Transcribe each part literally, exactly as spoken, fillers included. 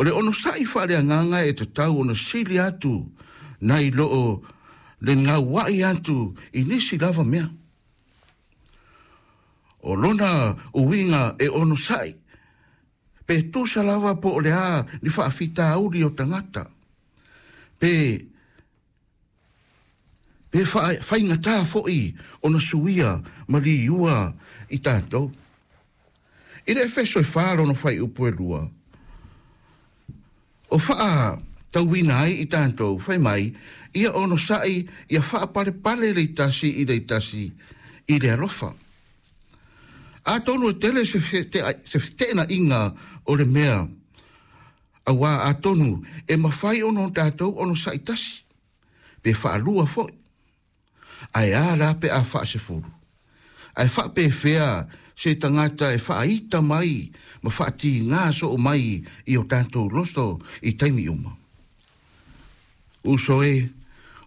O le onosa'i faaleagaga e tatau ona sili atu nai loo le gaua'i atu i nisi lava mea. O lona uiga e onosa'i pe tusa lava po o le a ni faafitauli o tagata pe pe faigatā fo'i ona suia ma liua i tatou. I le Efeso e fa lona fuaiupu e lua, o faatauina ai i tatou fai mai, ia onosa'i ia faapalepale le tasi i le tasi i le alofa. Atonu e tele se feteenaiga o le mea, auā atonu e mafai ona o tatou onosa'i tasi, pe faalua fo'i, ae a la pe a faasefulu? Ae faapefea se tagata e faaita mai ma faatigā soo mai i o tatou loto i taimi uma? Uso e,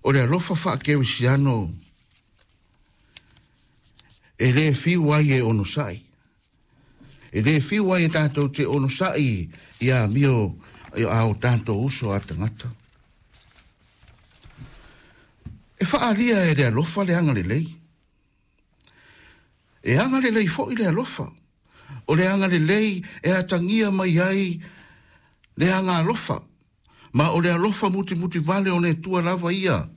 o le alofa faakerisiano e lē fiu ai e onosa'i. E lē fiu ai e tatou te onosa'i i amio a o tatou uso a tagata. E faaalia e le alofa le agalelei. E agalelei fo'i le alofa. O le agalelei e atagia mai ai le agalofa. Ma o le alofa mutimuti vale o le Atua lava ia.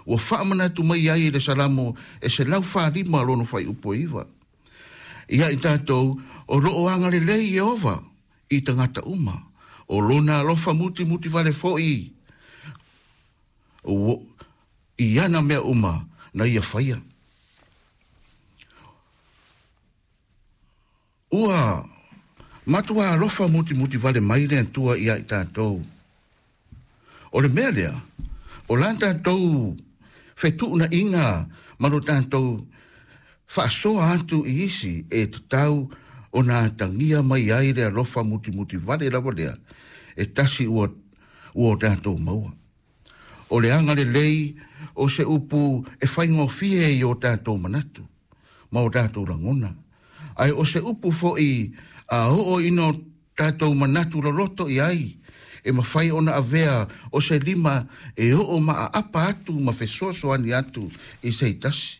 Ua faamanatu mai ai i le Salamo e selau falima lona fuaiupu e iva. Ia i tatou o loo agalelei Ieova i tagata uma. O lona alofa mutimuti vale fo'i i ana mea uma na ia faia. Ua matua alofa mutimuti vale mai le Atua ia i tatou. O le mea lea, o la tatou fetuunaiga ma lo tatou faasoa atu i isi e tatau ona atagia mai ai le alofa mutimuti vale lava lea e tasi ua, ua o tatou maua. O le agalelei o se upu e faigofie i o tatou manatu ma o tatou lagona. Ae o se upu fo'i a oo ina o tatou manatu loloto i ai, e mafai ona avea o se lima e oo maaapa atu ma fesoasoani atu i se tasi.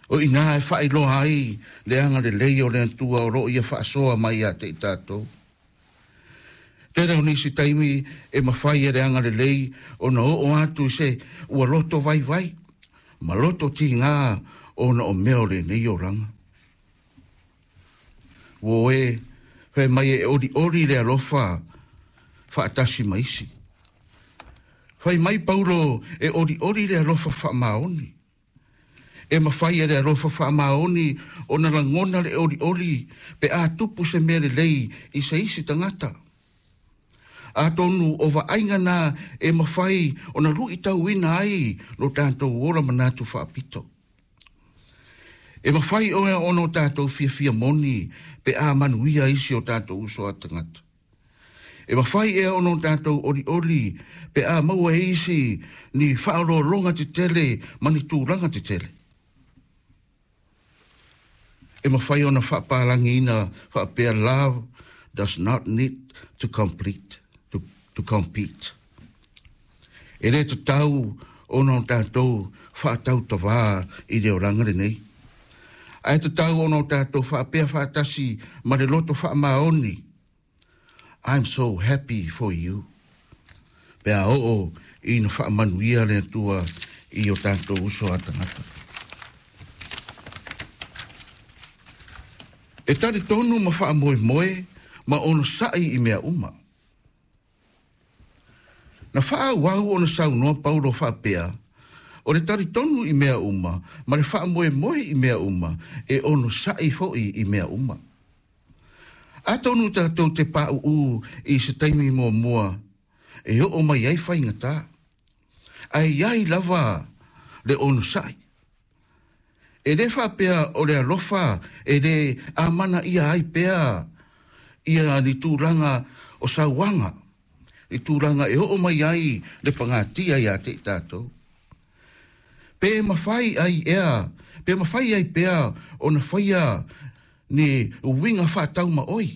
O ina e faailoa ai le agalelei o le Atua o loo ia faasoa mai ia te i tatou. Tele o nisi taimi e mafai e le agalelei ona oo atu i se ua loto vaivai ma loto tigā ona o mea o lenei olaga. Ua e fai mai e olioli le alofa faatasi ma isi. Fai mai Paulo e olioli le alofa faamaoni. E mafai e le alofa faamaoni ona lagona le olioli pe a tupu se mea lelei i se isi tagata. Atonu o vaaiga na e mafai ona luitauina ai lo tatou ola manatu faapito. E mafai oe ona o tatou fiafia moni pe a manuia isi o tatou uso a tagata. E mafai ea ona o tatou olioli pe a maua e isi ni faaoloologa tetele ma ni tulaga tetele. E mafai ona faapalagiina faapea, love does not need to complete, to, to compete. E le tatau ona o tatou faatautavā i le olaga lenei. Ae tatau ona o tatou faapea faatasi ma le loto faamaoni, I'm so happy for you. Pe a oo ina faamanuia le Atua i o tatou uso a tagata. E talitonu ma faamoemoe ma onosa'i i mea uma. Na faaauau ona saunoa Paulo faapea, o le talitonu i mea uma ma le faamoemoe i mea uma e onosa'i fo'i i mea uma. Atonu tatou te pauu i se taimi muamua e oo mai ai faigatā. Ae iai lava le onosa'i. E le faapea o le alofa e le amana ia ai pea ia ni tulaga o sauaga, i tulaga e oo mai ai le pagatia ia te i tatou. Pe mafai ai ea, pe mafai ai pea ona faia ni uiga faataumaoi.